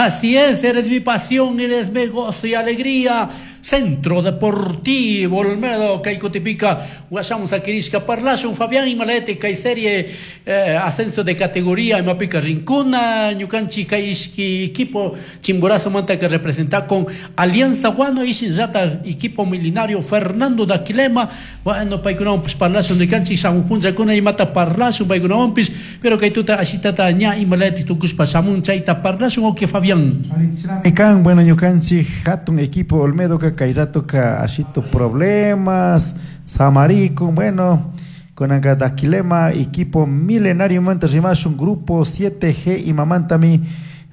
Así es, eres mi pasión, eres mi gozo y alegría. Centro Deportivo Olmedo, kay kutipika, washamun sakirishka parlashun, Fabián, imalete, kay serie ascenso de categoría, imapika rinkuna, ñukanchik kay ishki equipo Chimborazo manta que representa con Alianza Guano y rata equipo milenario Fernando Daquilema. Bueno, paykunawanpish parlashun, ñukanchik shamuq punllakuna imata parlashun paykunawanpish, pero kay tuta ashitata ña imalete tukushpa shamun chayta parlashun, ok, Fabián. Kan, bueno, ñukanchik hatun equipo Olmedo ka kay rato ka ashito problemas, Samarico, bueno, con Daquilema, equipo milenario manta rimashun grupo 7G imamantami,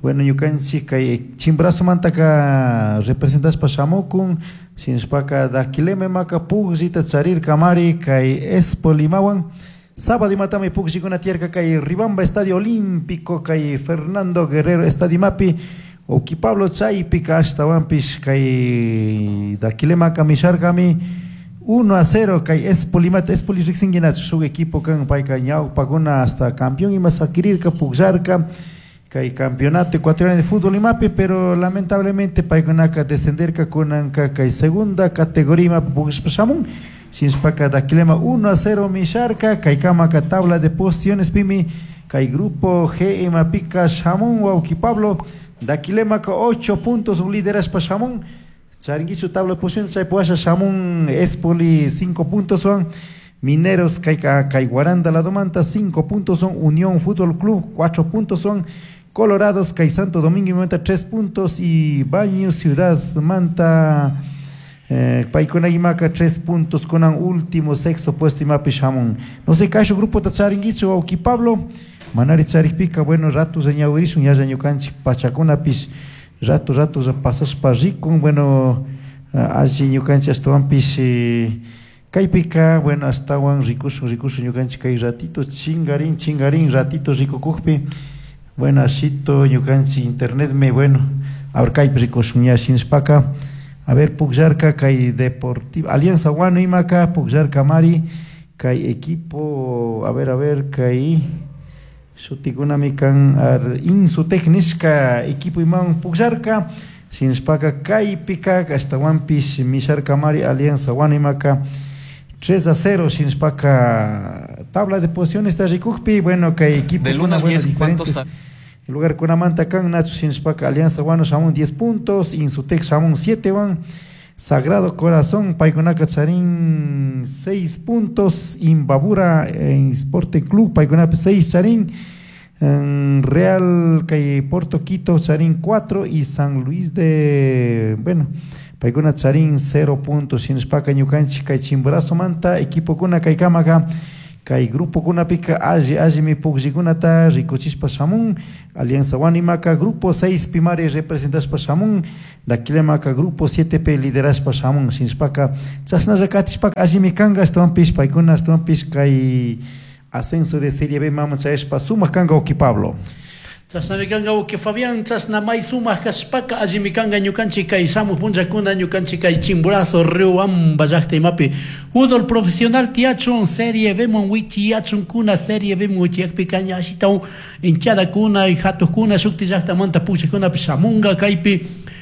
bueno, ñukanchik kay Chimborazo manta ka representashpa shamukun, shinashpaka Daquilema imaka pugllita charirkamari kay Espol imawan. Sábado imatami pugllikuna tiyarka kay Ribamba Estadio Olímpico kay Fernando Guerrero Estadio Mapi. Oki Pablo chaypika ashtawanpish kay Daquilemaka misharkami 1-0 kay Espolimata. Espoli riqsinguinachu shuk equipo kan payka ñawpakuna hasta campeón ima sakirirka pukllarka kay campeonato ecuatoriano de fútbol imapi, pero lamentablemente paykunaka descenderka kunanka kay segunda categoría imapi pukllashpa shamun. Shinashpaka Daquilema 1-0 misharka kay kamaka tabla de posiciones pimi kay grupo G imapika shamun wawki Pablo. Daquilemaka 8 puntos un liderazgo shamun. Charinguichu tabla de posiciones chay puasha shamun Espoli 5 puntos son. Mineros kay kay Guaranda Ladomanta 5 puntos son. Unión Fútbol Club 4 puntos son. Colorados kay Santo Domingo Manta 3 puntos y Baño Ciudad Manta paykuna imaka 3 puntos con un último sexto puesto imapi shamun. No sé kashu grupo ta charinguichu wawki Pablo. Manari charikpika, bueno, rato ñawirishun, ya ñukanchik pachakunapish, rato, rato pasashpa rikun, bueno, alli ñukanchik ashtawanpish, kaypika, bueno, ashtawan rikushun, rikushun ñukanchik kay ratito, chingarin, chingarin, ratito rikukukpi, bueno, ashito ñukanchik internet me, bueno, a ver, kaypi rikushun ña shinashpaka, a ver, pukllarka kay Deportivo, Alianza Guano imaka, pukllarka mari, kay equipo, a ver, kay shutikunami kan ar Insutec nishka equipo iman pukllarka, shinashpaka kaypika ashtawanpish misharkamari Alianza Guano imaka 3-0 shinashpaka tabla de posiciones está rikukpi, bueno, kay equipo Del 1 al bueno, 10, ¿cuántos diferentes lugar kunamanta kan nacho shinashpaka Alianza Guano shamun 10 puntos, Insutec shamun 7 van, Sagrado Corazón paykunaka charin 6 puntos, Imbabura en Sporting Club paykunapi 6 charin, en Real kay Porto Quito charin 4 y San Luis de, bueno, paykuna charin 0 puntos, shinashpaka ñukanchik kay Chimborazo manta equipo kuna kay kamaka kay grupo kunapika alli allimi pukllikunata rikuchishpa shamun, Alianza Guanimaka grupo 6 pimari representashpa shamun, Daquilemaka grupo 7 p liderashpa shamun, shinashpaka chashnalla katishpaka allimi kanka ashtawanpish paykuna ashtawanpish kay ascenso de Serie B mama chayashpa sumak kanka wawki Pablo. Chashnami kanka wawki Fabián, chashna may sumak kashpaka allimi kanka ñukanchik kay shamuq punllakuna ñukanchik kay Chimborazo Riobamba llaqta imapi fútbol profesional tiyachun Serie B man wichiyachun kuna Serie B man wichiyakpika ña ashitawan hinchadakuna hatuqkuna shukti llaqtamanta pushakkunapish shamunka kaypi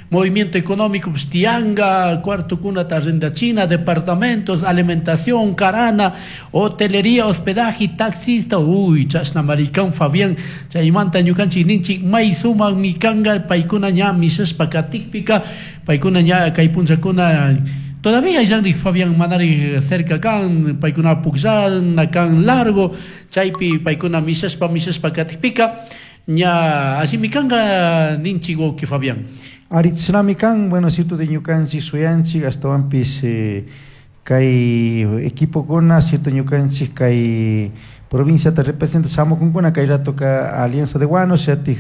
movimiento económico pues, tianga, cuarto cuna arrendachina, departamentos, alimentación, carana, hotelería, hospedaje, taxista, uy, chashna maricán, Fabián, chaymanta ñukanchik ninchik, may sumak mikanga, paykuna ña mishashpa katikpika, paykuna ña kay punllakuna, todavía yanri Fabián manari cerca kan, paykuna pukllan, kan largo, chaypi paykuna mishashpa, mishashpa katikpika, ña así mikanga ninchik wawki Fabián. Aritznami kan, bueno, cierto de ñukanchik, suyanchik, ashtawanpish, kay equipo kuna, cierto ñukanchik, kay provincia te representa shamukunkuna, kay rato ka Alianza de Guano, shatik,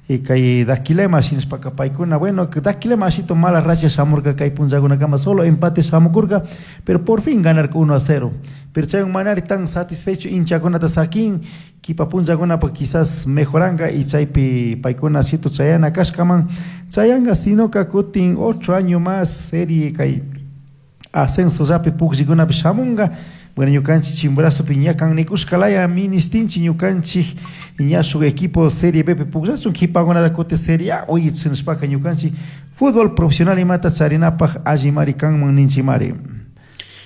y kay Daquilema, shinashpaka paykuna, bueno, Daquilema ashito mala racha shamurka kay punllakuna kama, solo empate shamukurka, pero por fin ganarka 1-0. Pero chay manari tan satisfecho hinchakunata sakin, kipa punllakuna pa quizás mejoranga y chaypi paykuna cierto chayana kashkaman, chayanga sino ka kutin otro año más serie kay ascenso yapi pukllikunapi shamunga, Bueno, ñukanchik Chimborazopi ña kan nikushkalaya ministinchik ñukanchik ña shuk equipo Serie B pi pukllachun kipakunata kutin Serie A uyichinishpaka ñukanchik fútbol profesional imata charinapaj allimari kanman ninchimari.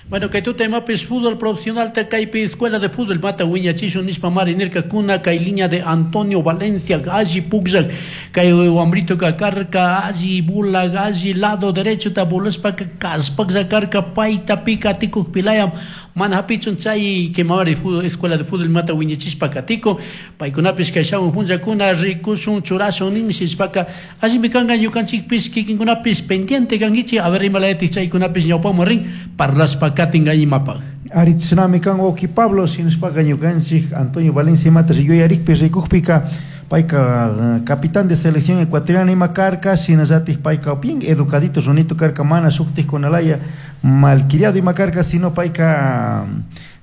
Bueno, kay tuta imapish fútbol profesional ta kaypi escuela de fútbol mata wiñachishun nishpa mari nirkakuna kay línea de Antonio Valencia alli pukllak kay wambrito karka alli bula alli lado derecho ta bulashpaka kallpaklla karka payta pika atikukpilayam mana hapichun chay kimari fútbol escuela de fútbol mata wiñachishpa katiko paykunapish kay shamun punllakuna rikushun churashun ninshishpaka allimi kanka ñukanchikpish kikinkunapish pendiente kankichik a ver imalayatik chaykunapish ñawpaman rin parlashpa katinka imapaj. Aritznami kan wawki Pablo shinashpaka ñukanchik Antonio Valencia imata yuyarikpi rikukpika payka capitán de selección ecuatoriana ima karka shinallatik payka bien educadito runito karka mana shuktikkunalaya malcriado ima karka sino payka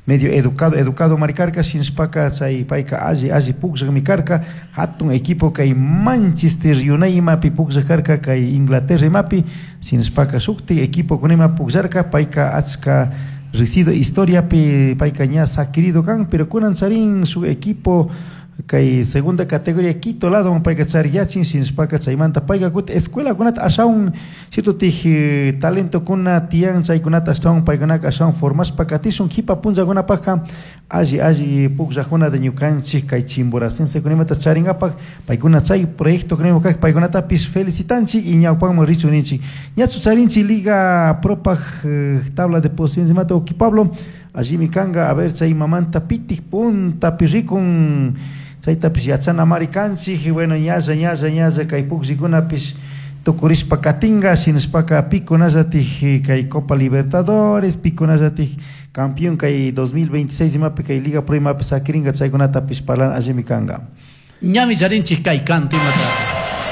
medio educado educado mari karka shinashpaka chay payka alli alli pukllakmi karka hatun equipo kay Manchester United imapi pukllak karka kay Inglaterra imapi shinashpaka shuktik equipo kuna pukllarka payka achka recido historiapi payka ña saquirido kan pero kunan charin su equipo kay segunda categoría Quito lado payka chariyachin shinashpaka chaymanta payka kutin escuelakunata ashawan shitutik talentokuna tiyan chaykunata ashtawan paykunaka ashawan formashpa katishun kipa punllakunapajka alli alli pukllakuna de ñukanchik kay chimboracensekunamanta charinkapak paykuna chay proyecto kak paykunatapish felicitanchik y ñawpaman richun ninchik ñachu charinchik Liga Propaj tabla de posiciones imata wawki Pablo allimi kanka a ver chay mamanta pitik puntapi rikun chaytapish yachanamari kanchik bueno ñalla ñalla ñalla kay pukllikunapish tukurishpa katinka shinashpaka pikunallatik kay Copa Libertadores pikunallatik campeón kay 2026 imapi kay Liga Pro imapi sakirinka chaykunatapish parlan allimi kanka. Ñami charinchik kay kanto imata.